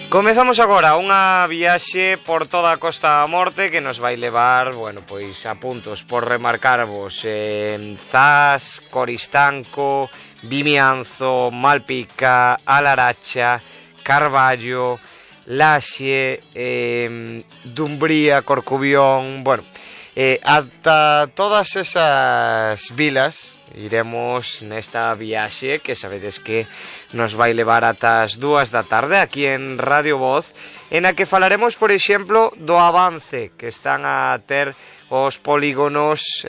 Comezamos agora unha viaxe por toda a Costa da Morte que nos vai levar, bueno, pois a puntos por remarcarvos Zas, Coristanco, Vimianzo, Malpica, A Laracha, Carballo, Laxe, Dumbría, Corcubión, bueno, ata todas esas vilas iremos nesta viaxe que sabedes que nos vai levar ata as 2 da tarde aquí en Radio Voz, en a que falaremos, por exemplo, do avance que están a ter os polígonos,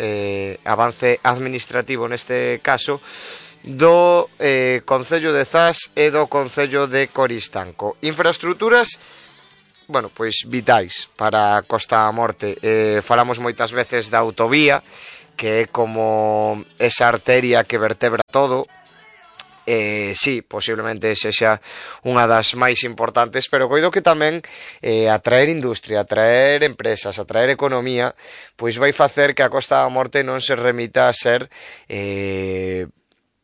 avance administrativo neste caso, do Concello de Zas e do Concello de Coristanco. Infraestructuras, bueno, pois vitais para a Costa da Morte. Falamos moitas veces da autovía, que é como esa arteria que vertebra todo. Sí, posiblemente sexa unha das máis importantes, pero coido que tamén atraer industria, atraer empresas, atraer economía, pois vai facer que a Costa da Morte non se remita a ser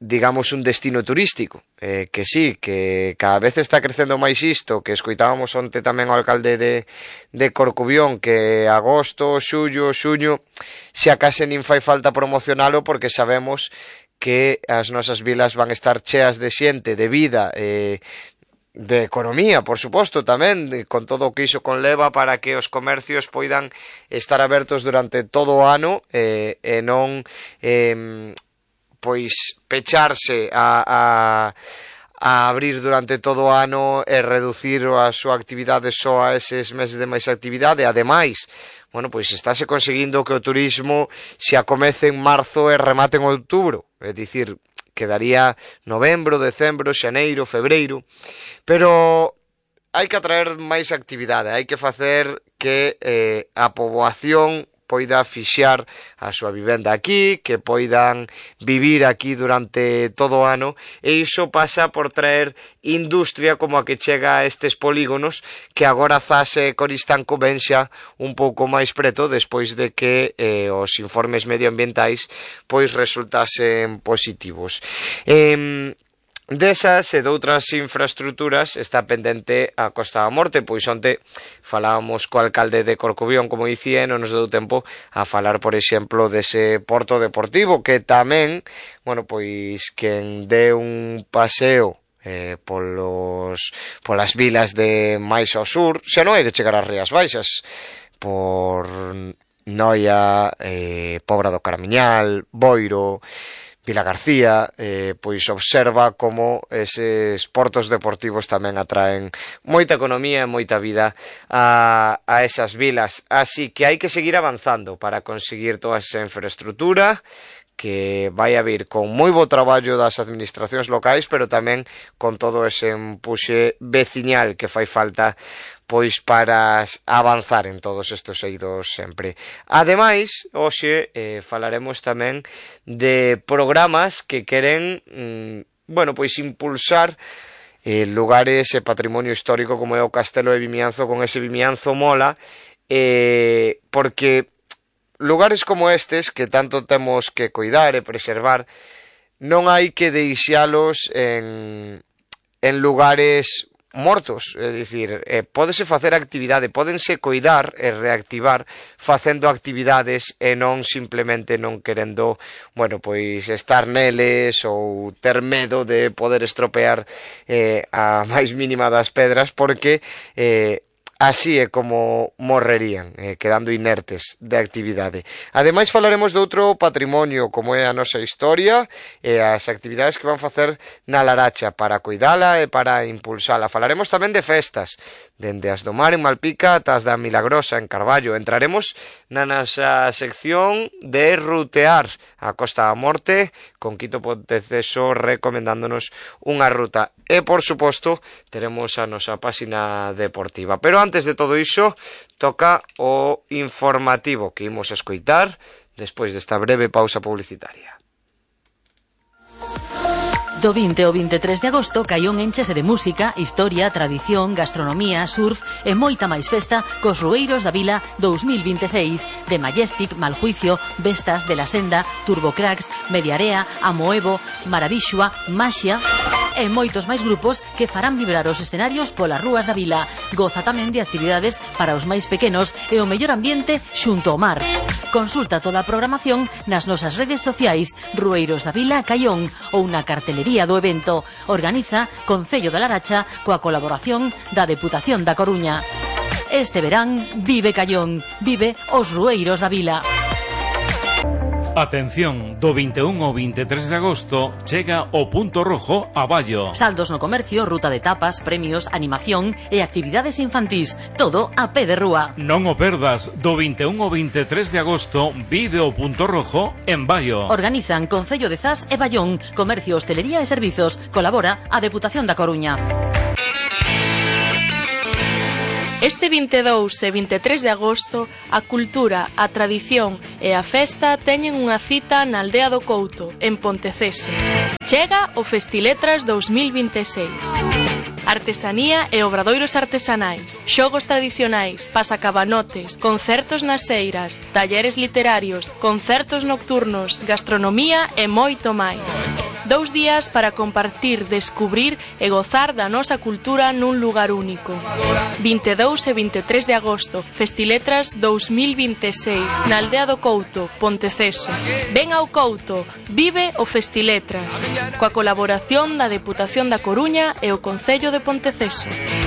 digamos un destino turístico, que sí, que cada vez está crecendo máis isto, que escoitábamos onte tamén ao alcalde de Corcubión, que agosto, xullo, xuño, se acase nin fai falta promocionalo porque sabemos que as nosas vilas van estar cheas de xente, de vida, de economía, por suposto, tamén, con todo o que iso conleva para que os comercios poidan estar abertos durante todo o ano e non pois pecharse a abrir durante todo o ano e reducir a súa actividade só a eses meses de máis actividade. Ademais, bueno, pois estáse conseguindo que o turismo se acomece en marzo e remate en outubro, é dicir, quedaría novembro, decembro, xaneiro, febreiro, pero hai que atraer máis actividade, hai que facer que a poboación poida fixar a súa vivenda aquí, que poidan vivir aquí durante todo o ano, e iso pasa por traer industria como a que chega a estes polígonos, que agora Zas e Coristanco ven xa un pouco máis preto despois de que os informes medioambientais pois resultasen positivos. Desas e doutras infraestructuras está pendente a Costa da Morte, pois onte falábamos co alcalde de Corcubión, como dicía, e non nos deu tempo a falar, por exemplo, dese porto deportivo, que tamén, bueno, pois quen dé un paseo polas vilas de máis ao sur, xa non hai de chegar ás Rías Baixas, por Noia, Pobra do Caramiñal, Boiro, Vila García, pois observa como eses portos deportivos tamén atraen moita economía e moita vida a esas vilas. Así que hai que seguir avanzando para conseguir toda esa infraestructura que vai a vir con moi bo traballo das administracións locais, pero tamén con todo ese empuxe veciñal que fai falta pois para avanzar en todos estes eidos sempre. Ademais, hoxe falaremos tamén de programas que queren, bueno, pois impulsar lugares e patrimonio histórico como é o Castelo de Vimianzo, con ese Vimianzo mola, porque lugares como estes, que tanto temos que cuidar e preservar, non hai que deixalos en lugares mortos, é dicir, pódese facer actividade, pódense coidar e reactivar facendo actividades e non simplemente non querendo, bueno, pois estar neles ou ter medo de poder estropear a máis mínima das pedras, porque así é como morrerían, quedando inertes de actividade. Ademais falaremos de outro patrimonio, como é a nosa historia e as actividades que van facer na Laracha para cuidala e para impulsala. Falaremos tamén de festas, dende as do Mar en Malpica ata as da Milagrosa en Carballo. Entraremos na nosa sección de rutear a Costa da Morte, con Quito Ponteceso recomendándonos unha ruta. E, por suposto, teremos a nosa páxina deportiva. Pero antes de todo iso, toca o informativo que imos escoitar despois desta breve pausa publicitaria. Do 20 ao 23 de agosto, Caión enchese de música, historia, tradición, gastronomía, surf e moita máis festa cos Rueiros da Vila 2026 de Majestic, Maljuicio, Vestas, de la Senda, Turbocracks, Mediarea, Amoevo, Maravixua, Maxia e moitos máis grupos que farán vibrar os escenarios polas rúas da vila. Goza tamén de actividades para os máis pequenos e o mellor ambiente xunto ao mar. Consulta toda a programación nas nosas redes sociais Rueiros da Vila Caión ou na cartelería do evento. Organiza Concello da Laracha coa colaboración da Deputación da Coruña. Este verán vive Caión, vive os Rueiros da Vila. Atención, do 21 ao 23 de agosto chega o Punto Rojo a Baio. Saldos no comercio, ruta de tapas, premios, animación e actividades infantís. Todo a pé de rúa. Non o perdas, do 21 ao 23 de agosto vive o Punto Rojo en Baio. Organizan Concello de Zas e Baión, Comercio, Hostelería e Servizos. Colabora a Deputación da Coruña. Este 22 e 23 de agosto, a cultura, a tradición e a festa teñen unha cita na Aldea do Couto, en Ponteceso. Chega o Festiletras 2026. Artesanía e obradoiros artesanais, xogos tradicionais, pasacabanotes, concertos nas eiras, talleres literarios, concertos nocturnos, gastronomía e moito máis. 2 días para compartir, descubrir e gozar da nosa cultura nun lugar único. 22 e 23 de agosto, Festiletras 2026, na Aldea do Couto, Ponteceso. Ven ao Couto, vive o Festiletras, coa colaboración da Deputación da Coruña e o Concello de Ponteceso.